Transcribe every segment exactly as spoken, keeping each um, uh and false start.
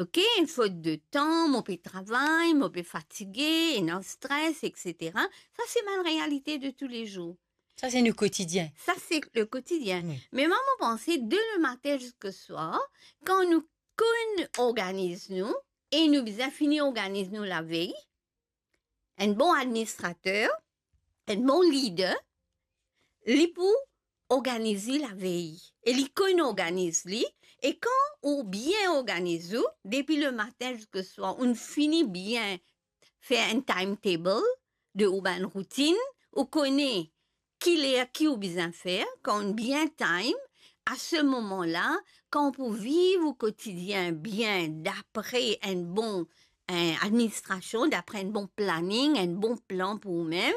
ok, enn fot de tan, mo pe travay, mo pe fatige, ena stres, et cetera. Sa se bann realite de toulezour. Sa se nou kotidien. Sa se le kotidien. Wi. Me mwa, mo panse, de le matin ziska swar, kan nou konn organiz nou, e nou bizin fini organiz nou lavey, enn bon administrater, enn bon lider, li pou organiz li lavey. E li konn organiz li. E kan ou bien organiz ou, depi le matin ziska swar, ou fini bien fer enn timetable de ou bann routinn, ou kone ki ler ki ou bizin fer, kan ou bien time, a se moman la, kan ou pou viv ou kotidien bien, dapre enn bon, eh, administrasion, dapre enn bon planning, enn bon plan pou ou mem,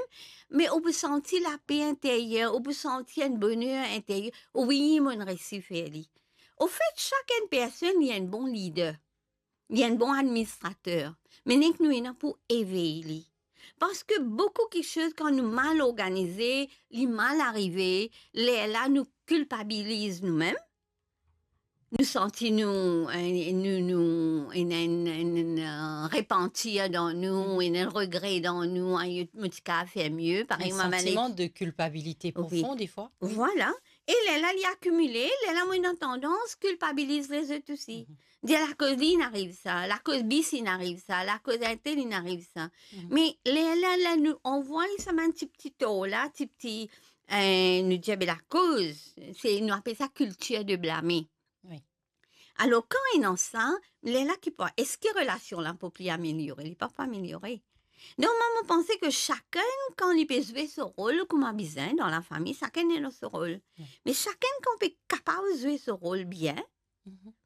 me ou pou santi lape interyer, ou pou santi enn boner interyer, wi, mo'nn resi fer li. Anfet, sak enn personn, li enn bon lider. Li enn bon administrater, me nek nou ena pou evey li. Parski boukou kiksoz, kan nou mal organize, li mal arive, lerla nou kilpabiliz noumem. Nou santi nou, eh, nou, nou, ena enn, enn, enn, eh, repantir dan nou, ena enn regre dan nou, "Ay, mo ti kav fer mie." Parey, enn santiman de kilpabilite profon, defwa. Vwala. E lerla li akimile, lerla mo ena tandans kilpabiliz lezot osi. Dir, "Lakoz li inn ariv sa, lakoz bis inn ariv sa, lakoz entel inn ariv sa." Me lerla, ler nou anvoy sa bann ti, ti tor la, ti, ti, eh, nou dir, "Be lakoz," se, nou apel sa kiltir de blame. Wi. Alor, kan ena sa, lerla ki pou, eski relasion la pou pli ameliore? Li pa pou ameliore. Donk, mwa, mo panse ki sakenn, kan li pe zwe so rol kouma bizin dan lafami, sakenn ena so rol. Wi. Me sakenn, kan pe kapav zwe so rol bien,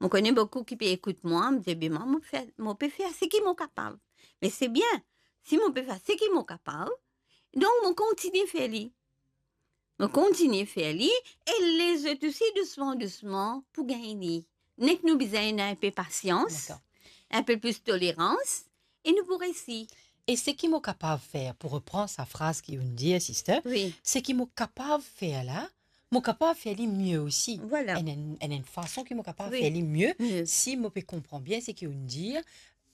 mo kone boukou ki pe ekout mwa, mo dir, "Be mwa, mo fer, mo pe fer seki mo kapav." Me se bien, si mo pe fer seki mo kapav, donk mo kontinie fer li. Mo kontinie fer li, e lezot osi, dousman, dousman, pou gagn li. Nek nou bizin ena enpe pasians, dakor, enpe plis tolerans, e nou pou resi. E seki mo kapav fer, pou repran sa fraz ki ou'nn dir, sister, wi, seki mo kapav fer la, mo kapav fer li mie osi. Vwala. Enn, enn, enn, enn fason ki mo kapav, wi, fer li mie, mie, si mo pe konpran bien seki ou'nn dir,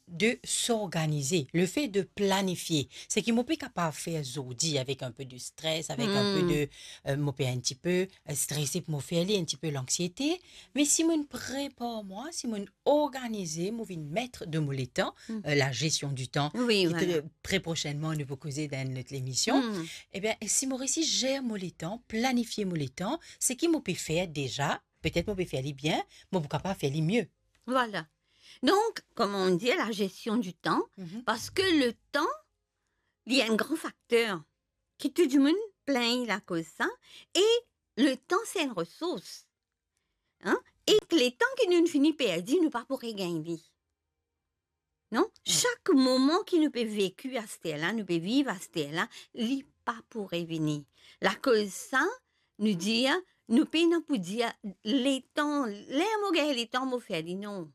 de s'organize, le fait de planifie. Seki mo pe kapav fer zordi avek enpe de stres, avek enpe de, eh, mo pe enn tipe, eh, strese pou mo fer li, enn tipe lanksiete, me si mo'nn prepar mwa, si mo'nn organize, mo vinn met de mo letan, eh, la gestion du temps, wi, ki vwala, tre, tre prosenman nou pou koze dan enn lot lemision, ebien, si mo resi zer mo letan, planifie mo letan, seki mo pe fer deza, petet mo pe fer li bien, mo pou kapav fer li mie. Vwala. Donk, kouma ou'nn dir, la gestion du temps, parski letan, li enn gran fakter ki tou dimoun plingn lakoz sa, e letan se enn resours. Hein? E letan ki nou fini perdi, nou pa pou regagn li. Non? Wi. Sak moman ki nou pe veki aster la, nou pe viv aster la, li pa pou revini. Lakoz sa, nou dir, nou pena pou dir, "Letan, ler mo gagn letan, mo fer li." Non.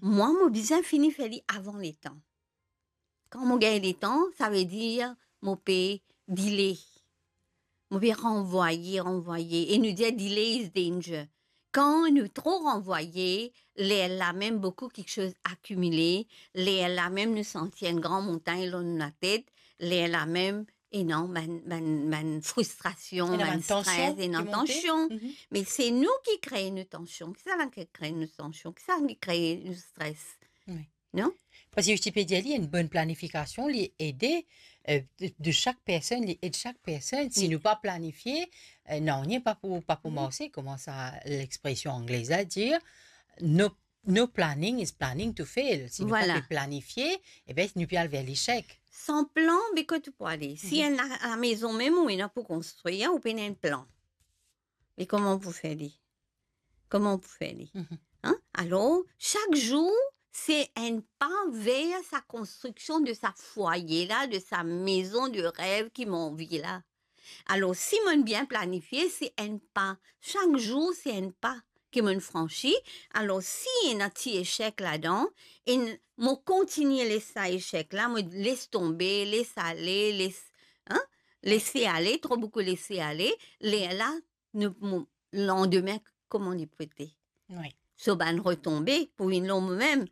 Mwa, mo bizin fini fer li avan letan. Kan mo gagn letan, savedir mo pe delay. Mo pe ranvwaye, ranvwaye. E nou dir, "Delay is danger." Kan nou tro ranvwaye, lerla mem boukou kiksoz akimile, lerla mem nou santi enn gran montagn lor nou latet, lerla mem, ena bann, bann, bann fristrasion, ena bann stres, bann tansion, ena tansion. Me se nou ki kree nou tansion. Kisannla ki kree nou tansion? Kisannla ki kree nou stres? Wi. Non? Parski ti pe dir li, enn bon planifikasion, li ede, eh, de, de sak personn, li ed sak personn. Si nou pa planifie, eh, nanye pa pou, pa pou marse, kouma sa lexpresion anglez la dir, "No, no planning is planning to fail." Si nou pa pe planifie, ebien, nou pe al ver lesek. San plan, be kot ou pou ale? Si enn la, lamezon mem ou ena pou konstrir, ou pena enn plan. Me kouma ou pou fer li? Kouma ou pou fer li? Hein? Alor, sak zour, se enn pa ver sa konstriksion de sa fwaye la, de sa mezon de rev ki mo anvi la. Alor, si mo'nn bien planifie, se enn pa. Sak zour, se enn pa ki mo'nn fransi. Alor, si ena ti esek ladan, e n-, mo kontinie les sa esek la, mo les tonbe, les ale, les, hein? Lese ale, tro boukou lese ale, lerla, nou, mo, landime, kouma li pou ete? Wi. So bann retonbe pou vinn lor momem.